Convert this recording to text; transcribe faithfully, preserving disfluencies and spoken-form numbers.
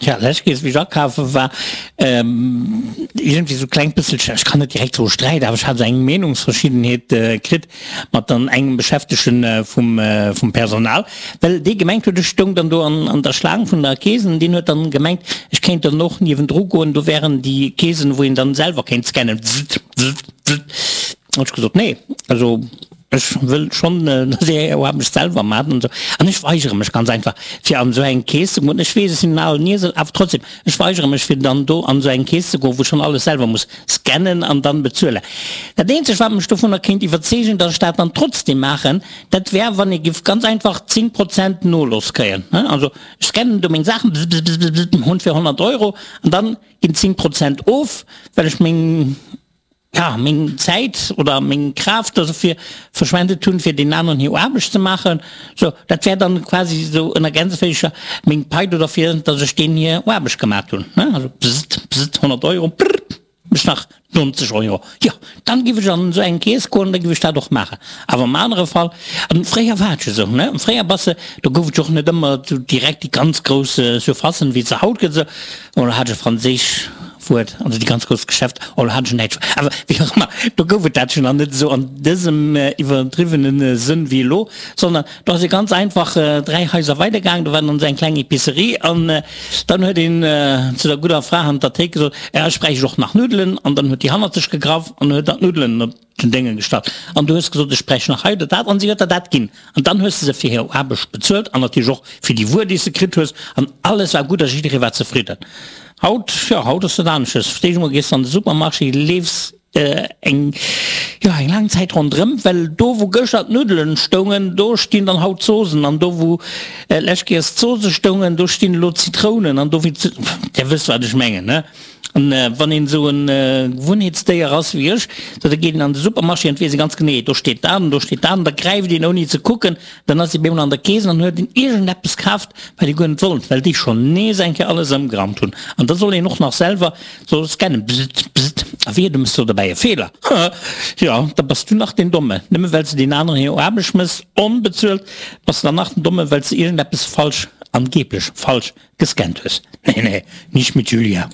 Ja, lescht Kees, wéi ech akafe war, iergendwéi sou klengt bësselchen, ech kann net direkt soe Sträit, awer ech hat esou eng Meenungsverschiddenheet kritt mat dann engem Beschäftegten vum vum Personal, well dee gemengt huet, ech stoung dann do an an der Schlaang vun der Kees an deen huet dann gemengt, ech kéint dann och niewendru goen, do wären déi Keesen, wou een dann selwer kéint scannen, wzzt, wzzt, wzzt. Hunn ech gesot, nee, also ech wëll schonn, dass Dir Är Aarbecht selwer maacht an esou. An ech weigere mech ganz einfach, fir an esou eng Keess ze goen. Ech weess, ech sinn en alen Iesel, awer trotzdem, ech weigere mech, fir dann do an esou eng Keess ze goen, wou ech schonn alles selwer muss scannen an dann bezuelen. Dat eenzegt, wat mech dovunner kéint iwwerzeegen, dass ech dat dann trotzdem maachen, dat wär, wann ee giff ganz einfach zéng Prozent Noloss kréien. Also ech scannen do meng Saachen, bzz-bzz-bzz-bzz, hunn fir honnert Euro an dann ginn zéng Prozent of, well ech meng, ja, meng Zäit oder meng Kraaft dofir verschwendet hunn, fir deenen aneren hir Aarbecht ze maachen. Sou, dat wär dann quasi esou ënner Gänseféischer meng Pai do derfir, dass ech deenen hir Aarbecht gemat hunn, ne? Also bzzt, bzzt, honnert Euro, brrr, mech nach nonzeg Euro. Jo, dann giff ech an esou eng Keess goen, da giff ech dat och maachen. Awer am anere Fall, an fréier war et jo esou, ne, fréier bass de, do gouf et jo och net ëmmer esou direkt déi ganz grouss Surfacen, wéi et se haut gëtt, esou, oder hat ech e franséisch Wuert, also déi ganz grouss Geschäfter, oh lo hat ech en däitsch Wuert, awer wéi och ëmmer, do gouf et dat jo nach net esou an dësem iwwerdriwwene Sënn wéi elo, sondern do ass ee ganz einfach dräi Haiser weidergaangen, do war dann esou eng kleng Epicerie an dann huet een zu der gudder Fra hannert der Théik gesot, ja, ech bräicht och nach Nuddelen an dann huet déi hannert sech gegraff an huet der d'Nuddelen op den Dénge gestallt an du hues gesot, ech bräicht nach hei oder dat an si huet der dat ginn an dann hues de se fir hir Aarbecht bezuelt an natierlech och fir déi Wuer, déi s de kritt hues an alles war gutt a jidderee war zefridden. Haut, jo, haut ass dat anesches. Verstees emol, gees an de Supermarché, leefs eng, jo, eng laang Zäit ronderëm, well do wou gëschter d'Nuddelen stoungen, do stinn dann haut d'Zosen an do wou lescht Kéiers d'Zose stoungen, do stinn elo d'Zitrounen an do wéi, Dir wësst wat ech mengen, ne? An wann een esou e Gewunnheetsdéier ass wéi ech, da geet een an de Supermarché an et weess ee ganz genee, do steet dat an do steet dat an da gräift een ouni ze kucken, dann ass ee bemol an der Kees an huet een iergendeppes kaaft, wat ee guer net wollt, well déi schonn nees eng Kéier alles ëmgeraumt hunn. An da soll een och nach selwer soll scannen, bzzt, bzzt, a wehe du méchs do dobäi e Feeler, haha, jo, da bass du nach deen Domme, nëmme well s de deen aneren hir Aarbecht méchs, onbezuelt, bass de dann nach den Domme, well s de iergendeppes falsch, angeblech falsch, gescannt hues. Nee, nee, nicht mit Julia.